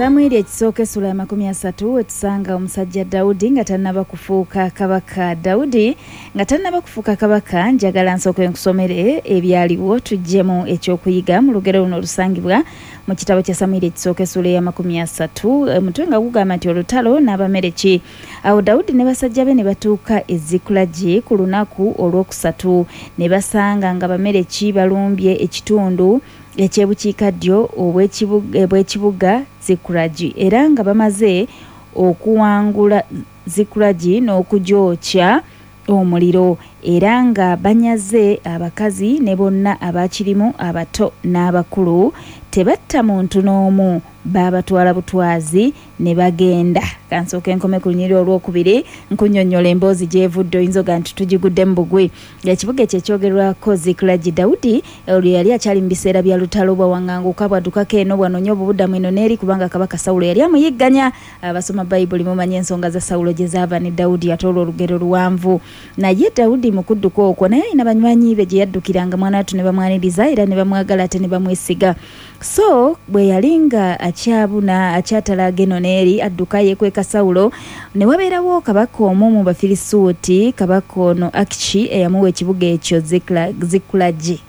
Samwiri ekisooka essula ya 30 wetusanga omusajja Dawudi nga tannaba kufuuka kabaka. Dawudi nga tannaba kufuuka kabaka, njagala nsooke nkusomere ebyaliwo tuggyemu ekyokuyiga mu lugero luno olusangibwa mu kitabo kya Samwiri ekisooka essula eya 30, omutwe nga gugamba nti olutalo n'Abamereki. Awo Dawudi ne basajja be ne batuuka e Zikulagi ku lunaku olwokusatu, ne basanga nga Abamereki balumbye ekitundu eky'ebukiikaddyo obw'ekibuga Zikulagi, era nga bamaze okuwangula Zikulagi n'okugyokya omuliro, era nga banyaze abakazi ne bonna abakirimu abato n'abakulu, tebatta muntu n'omu, baabatwala butwazi ne bagenda. Kansooke nkome ku lunyiriri olwokubiri nkunnyonnyola emboozi gy'evudde, oyinza oga nti tugiguddemu bugwi. Ekibuga ekyo ekyogerwako Zikulagi, Dawudi olwo yali akyali mu biseera bya lutalo, bwawaŋŋanguka bwaddukako eno bwanoonya obubudamu eno n'eri, kubanga kabaka Sawulo yali amuyigganya. Abasoma Bayibuli mumanyi ensonga za Sawulo gye zaava ne Dawudi, ate olwo olugero luwanvu. Naye Dawudi mu kudduka okwo naye alina banywanyi be gye yaddukiranga mwana wattu ne bamwaniriza era ne bamwagala ate ne bamwesiga. So bwe yali nga akyabuna akyatalaaga eno n'eri adduka yeekweka Sawulo, ne wabeerawo kabaka omu mu Bafirisuuti, kabaka ono Akishi eyamuwa ekibuga ekyo Zikulagi.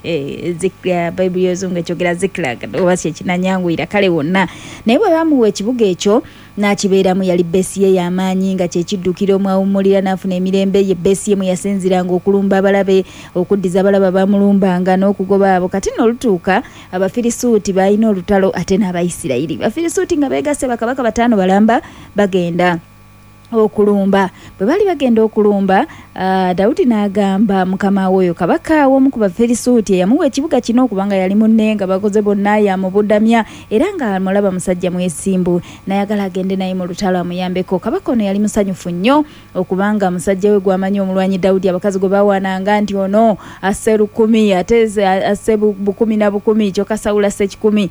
Bayibuli y'Oluzungu ekyogera Ziklag oba kye kinanyanguyira kale wonna. Naye bwe baamuwa ekibuga ekyo n'akibeeramu, yali bbeesi ye y'amaanyi nga kye kiddukiro mw'awummulira n'afuna emirembe. Ye bbeesi ye mwe yasinziiranga okulumba abalabe, okuddiza abalabe abaamulumbanga n'okugoba abo. Kati nno olutuuka Abafirisuuti baalina olutalo ate n'Abayisirayiri. Abafirisuuti nga beegasse bakabaka bataano balamba bagenda okulumba. Bwe baali bagenda okulumba, Dawudi n'agamba mukama we oyo kabaka w'omu ku Bafirisuuti eyamuwa ekibuga kino, kubanga yali munne nga bakoze bonna, yamubudamya era nga amulaba musajja mwesimbu, n'ayagala agende naye mu lutalo amuyambeko. Kabaka ono yali musanyufu nnyo okubanga musajja we gw'amanyi omulwanyi Dawudi, abakazi gwe bawaananga nti ono asse 1000 ate asse 10,000 na 10,000, kyokka Sawulo asse 100.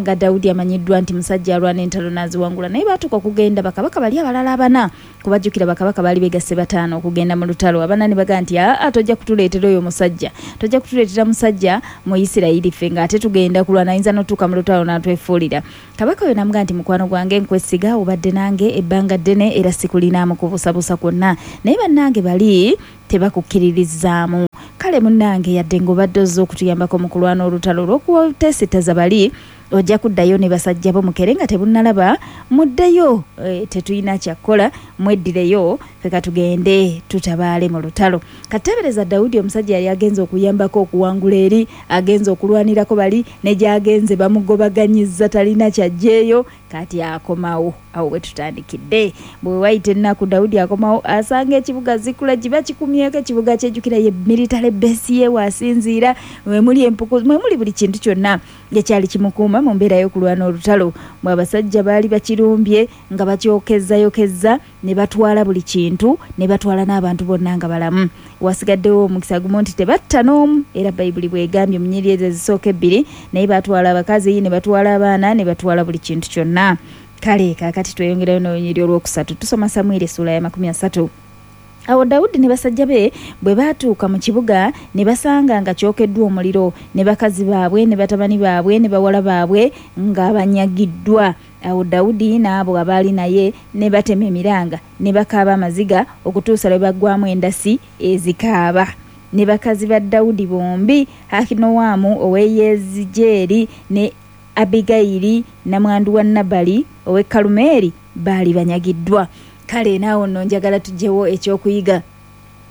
Nga Dawudi amanyiddwa nti musajja alwana entalo n'aziwangula. Naye baatuuka okugenda bakabaka bali abalala abana, kubajjukira bakabaka baali begasse bataano okugenda mu lutalo. Abana ne bagamba nti aa, tojja kutuleetera oyo musajja, tojja kutuleetera musajja mu Isirayiri ffe ng'ate tugenda kulwana, ayinza n'otuuka mu lutalo n'atwefuulira. Kabaka oyo n'amugamba nti mukwano gwange, nkwesiga, obadde nange ebbanga ddene era sikulinaamu kubuusabuusa kwonna, naye bannange bali tebakukkiririzaamu. Kale munnange, yadde ng'obadde ozze okutuyambako mu kulwana olutalo olw'okuteesittaza bali, ojja kuddayo ne basajja bo mukere nga tebunnalaba, muddeyo, tetulina kya kukola, mweddireyo, ffe ka tugende tutabaale mu lutalo. Kateebereza Dawudi omusajja yali agenze okuyambako okuwangula eri, agenze okulwanirako bali, ne gy'agenze bamugobaganyizza talina ky'aggyeeyo, kati akomawo. Awo we tutandikidde. Bwe wayita ennaku Dawudi akomawo asanga ekibuga Zikulagi bakikumyeko, ekibuga kyejjukira ye military base ye w'asinziira, mwe muli empuku, mwe muli buli kintu kyonna ekyali kimukuuma mu mbeera y'okulwana olutalo. Bwe abasajja baali bakirumbye nga bakyokezzayokezza ne batwala buli kintu, ne batwala n'abantu bonna nga balamu. Wasigaddewo omukisa gumu nti tebatta n'omu, era Bayibuli bw'egambye mu nnyiriri ezo ezisooka ebbiri, naye baatwala abakazi, ne batwala abaana, ne batwala buli kintu kyonna. Kale kaakati tweyongerayo n'olunyiriri olwokusatu, tusoma Samwiri essuula ya 30. Awo Dawudi ne basajja be bwe baatuuka mu kibuga, ne basanga nga kyokeddwa omuliro, ne bakazi baabwe ne batabani baabwe ne bawala baabwe nga banyagiddwa. Awo Dawudi n'abo abaali naye ne batema emiranga, ne bakaaba amaziga okutuusa lwe baggwaamu endasi ezikaaba. Ne bakazi ba Dawudi bombi, Akinowamu ow'e Yezijeeri ne Abbigayiri nnamwandu wa Nabali ow'e Kalumeeri baali banyagiddwa. Kale naawo nno njagala tuggyewo ekyokuyiga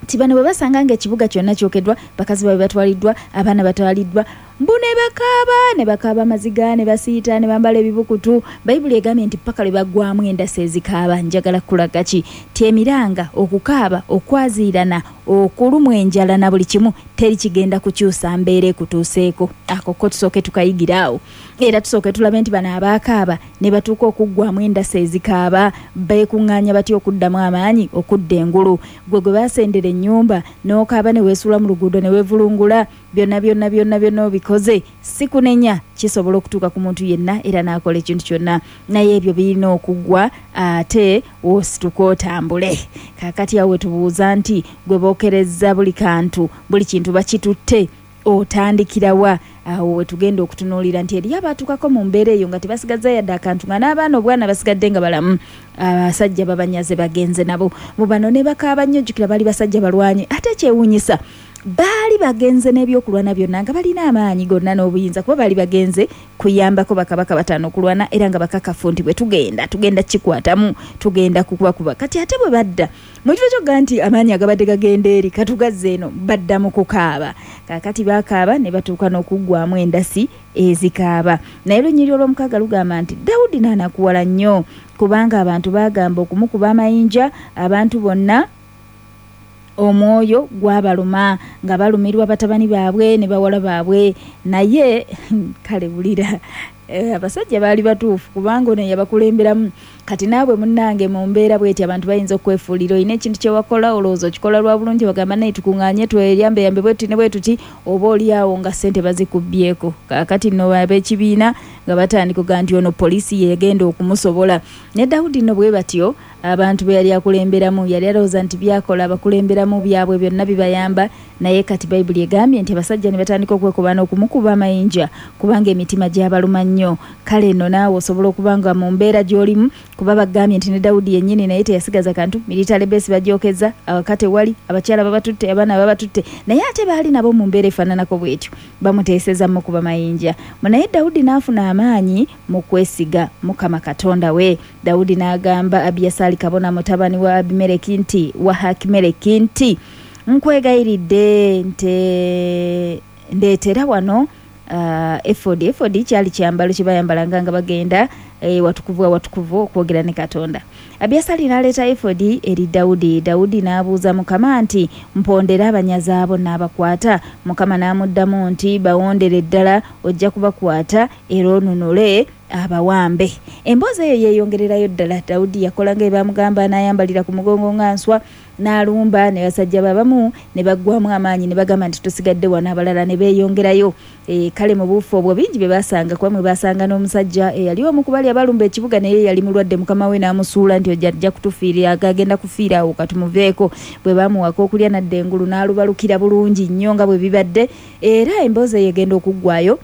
nti bano bwe basanga ng'ekibuga kyonna kyokeddwa, bakazi baabwe batwaliddwa, abaana batwaliddwa, mbu ne bakaaba, ne bakaaba amaziga, ne basiita, ne bambala ebibukutu. Bayibuli egambye nti paka lwe baggwaamu endasi ezikaaba. Njagala kukulaga ki? Nti emiranga, okukaaba, okwaziirana, okulumwa enjala na buli kimu, teri kigenda kukyusa mbeera ekutuuseeko. Ako ko tusooke tukayigire awo. Era tusooke tulabe nti bano abaakaaba ne batuuka okuggwaamu endasi ezikaaba, beekuŋŋaanya batya okuddamu amaanyi okudda engulu. Ggwe gwe baasendera ennyumba n'okaaba ne weesuula mu luguudo ne weevulungula, byonna byonna byonna byonna obikoze. Sikunenya, kisobola okutuuka ku muntu yenna era n'akola ekintu kyonna, naye ebyo birina okuggwa ate osituke otambule. Kaakati awo we tubuuza nti, ggwe bookerezza buli kantu, buli kintu bakitutte? Otandikira wa? Awo we tugenda okutunuulira nti eriyo abaatuukako mu mbeera eyo nga tebasigazza yadde akantu, nga n'abaana obwana basigadde nga balamu, abasajja babanyaze bagenze nabo. Mu bano ne bakaaba nnyo. Jjukira baali basajja balwanyi, ate ekyewuunyisa baali bagenze n'ebyokulwana byonna, nga balina amaanyi gonna n'obuyinza, kuba baali bagenze kuyambako bakabaka bataano okulwana, era nga bakakafu nti bwe tugenda tugenda kikwatamu, tugenda kukubakuba. Kati ate bwe badda mu kifo kyogga nti amaanyi agabadde gagenda eri katugazza eno, badda mu kukaaba. Kaakati bakaaba ne batuuka n'okuggwamu endasi ezikaaba. Naye lunyiri olw'omukaaga lugamba nti Dawudi n'anakuwala nnyo, kubanga abantu baagamba okumukuba amayinja. Abantu bonna omwoyo gwabaluma nga balumirwa batabani baabwe ne bawala baabwe. Naye kale wulira, abasajja baali batuufu, kubanga ono yabakulemberamu. Kati naabwe munnange, mu mbeera bweti abantu bayinza okwefuulira. Olina ekintu kyewakola, olowooza okikola lwa bulungi, bagamba naye tukuŋŋaanye tweyambeyambe bwe tuti ne bwe tuti, oba oli awo nga ssente bazikubbyeko. Kaakati nno ab'ekibiina nga batandika okugaa nti ono poliisi yegenda okumusobola. Ne Dawudi nno bwe batyo abantu be yali akulemberamu, yali alowooza nti byakola abakulemberamu byabwe byonna bibayamba. Naye kati Bayibuli egambye nti abasajja ne batandika okwekobaana okumukuba amayinja, kubanga emitima gyabaluma nnyo. Kale nno naawe osobola okuba nga mu mbeera gy'olimu, kuba bagambye nti ne Dawudi yennyini naye teyasigaza kantu. Military base bagyokeza, awaka tewali, abakyala babatutte, abaana babatutte, naye ate baali nabo mu mbeera efaananako bwetyo, bamuteeseza mukuba mayinja. Naye Dawudi n'afuna amaanyi mu kwesiga Mukama Katonda we. Dawudi n'agamba Abiyasaali kabona mutabani wa Abimereki nti wa Hakimereki nti nkwegayiridde nte ndeetera wano efodi. Efodi kyali kyambalo kye bayambalanga nga bagenda watukuvu awatukuvu okwogera ne Katonda. Abiyasaali n'aleeta efodi eri Dawudi. Dawudi n'abuuza Mukama nti mpondere abanyazi abo n'abakwata? Mukama n'amuddamu nti bawondere ddala, ojja kubakwata era onunule abawambe. Emboozi eyo yeeyongererayo ddala. Dawudi yakola nga bamugamba, n'ayambalira ku mugongo nga nswa n'alumba, ne basajja babamu ne baggwamu amaanyi ne bagamba nti tusigadde wano, abalala ne beeyongerayo. Kale mu buufu obwo bingi bye basanga, kuba mwe basanga n'omusajja eyali omu ku bali abalumba ekibuga, naye yali mulwadde, mukama we n'amusuula nti ojja ajja kutufiirira, agenda kufiira awo, katumuveeko. Bwe bamuwaka okulya n'adda engulu n'alubalukira bulungi nnyo nga bwe bibadde. Era emboozi eyo egenda okuggwayo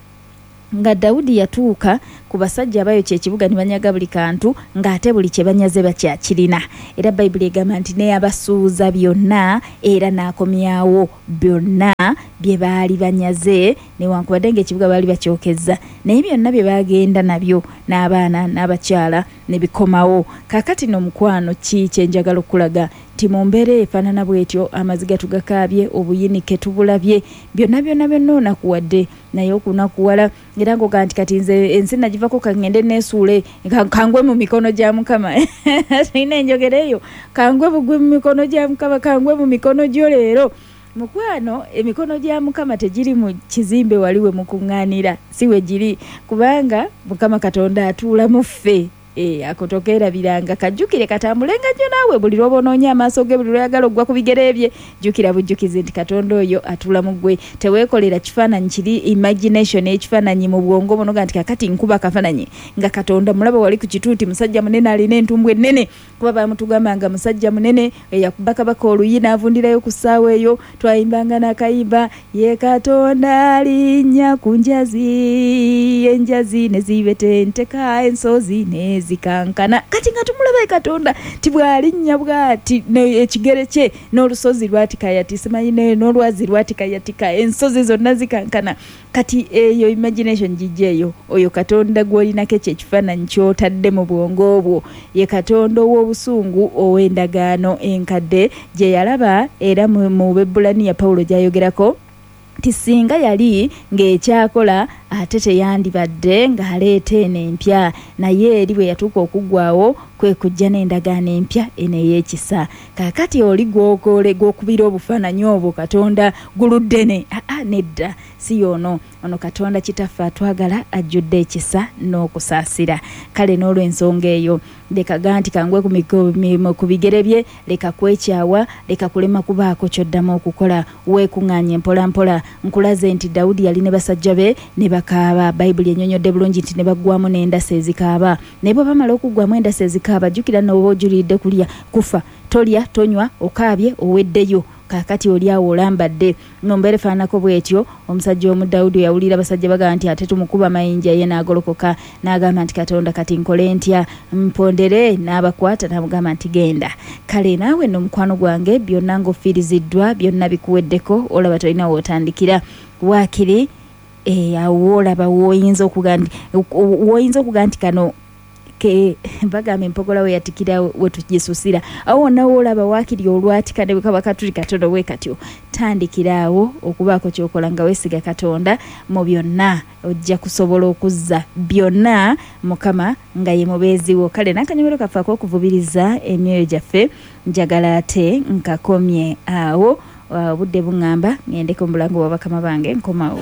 nga Dawudi yatuuka ku basajja abayokya ekibuga ne banyaga buli kantu, ng'ate buli kye banyaze bakyakirina. Era Bayibuli egamba nti neyabasuuza byonna era n'akomyawo byonna bye baali banyaze, newankubadde ng'ekibuga baali bakyokezza, naye byonna bye bagenda nabyo n'abaana n'abakyala ne bikomawo. Kaakati no mukwano, ki kye njagala okulaga nti mu mbeera efaanana bw'etyo, amaziga tugakaabye, obuyinike tubulabye, byonna byonna byonna onakuwadde, naye okunakuwala era ngoga nti kati nze ensi nagivako, kangende neesuule, kangwe mu mikono gya Mukama. Tulina enjogera eyo, kangwe bugwe mu mikono gya Mukama, kangwe mu mikono gyo leero. Mukwano, emikono gya Mukama tegiri mu kizimbe wali we mukuŋŋaanira, si we giri, kubanga Mukama Katonda atuula mu ffe. Ako tokeerabiranga, kajjukire katambulenga nnyo naawe buli lw'oba onoonya amaaso ge, buli lw'oyagala okugwa ku bigere bye, jjukira bujjukizi nti Katonda oyo atuula mu ggwe. Teweekolera kifaananyi kiri imagination, ekifaananyi mu bwongo buno ga nti kakati nkuba akafaananyi nga Katonda mulaba wali ku kituuti, musajja munene alina entumbwe ennene, kuba baamutugamba nga musajja munene eyakuba kabaka oluyi n'avundirayo ku ssaawa eyo. Twayimbanga n'akayimba, ye Katonda alinnya ku njazi, enjazi ne zibetenteka, ensozi ne zikankana. Kati nga tumulaba Katonda ti bw'alinnya bw'ati ekigere kye n'olusozi lwatikayati, simanyi n'olwazi lwatikayatika, ensozi zonna zikankana. Kati eyo imagination gijja eyo, oyo Katonda gw'olinako ekyo ekifaananyi ky'otadde mu bwongo bwo ye Katonda ow'obusungu ow'endagaano enkadde gye yalaba, era mu Bebbulaniya Pawulo gy'ayogerako nti singa yali ng'ekyakola ate teyandibadde ng'aleeta eno empya, naye eri bwe yatuuka okuggwawo kwe kujja n'endagaano empya eno ey'ekisa. Kaakati oli gw'okubira obufaananyi obwo Katonda guluddene, aa nedda, si y'ono. Ono Katonda Kitaffe atwagala, ajjudde ekisa n'okusaasira. Kale n'olw'ensonga eyo leka ga nti kangwe ku bigere bye, leka kwekyawa, leka kulema kubaako ky'oddamu okukola, weekuŋŋaanye mpola mpola. Nkulaze nti Dawudi yali ne basajja be ne bakaaba. Bayibuli ennyonnyodde bulungi nti ne baggwamu n'endasi ezikaaba. Naye bwe bamala okuggwamu endasi ezikaaba, jjukira n'oba ojuliridde kulya kufa, tolya tonywa, okaabye oweddeyo. Kaakati oli awo olambadde mu mbeera efaananako bw'etyo. Omusajja omu Dawudi yawulira abasajja bagamba nti ate tumukuba mayinja, ye n'agolokoka n'agamba nti Katonda kati nkole ntya, mpondere? N'abakwata n'amugamba nti genda. Kale naawe nno mukwano gwange, byonna ng'ofiiriziddwa, byonna bikuweddeko, olaba tolina w'otandikira, waakiri awo woolaba w'oyinza okuga nti kano ke bagamba empogola we yatikira we tugisusira. Awo wonna woolaba waakiri olwatika ne bwe kaba katuli katono bwe katyo, tandikira awo okubaako ky'okola nga weesiga Katonda mu byonna, ojja kusobola okuzza byonna Mukama nga ye mubeezi wo. Kale n'akanyomero kaffe ak'okuvubiriza emyoyo gyaffe njagala ate nkakomye awo. Obudde buŋŋamba ŋŋendeko mu bulango bwa bakama bange, nkomawo.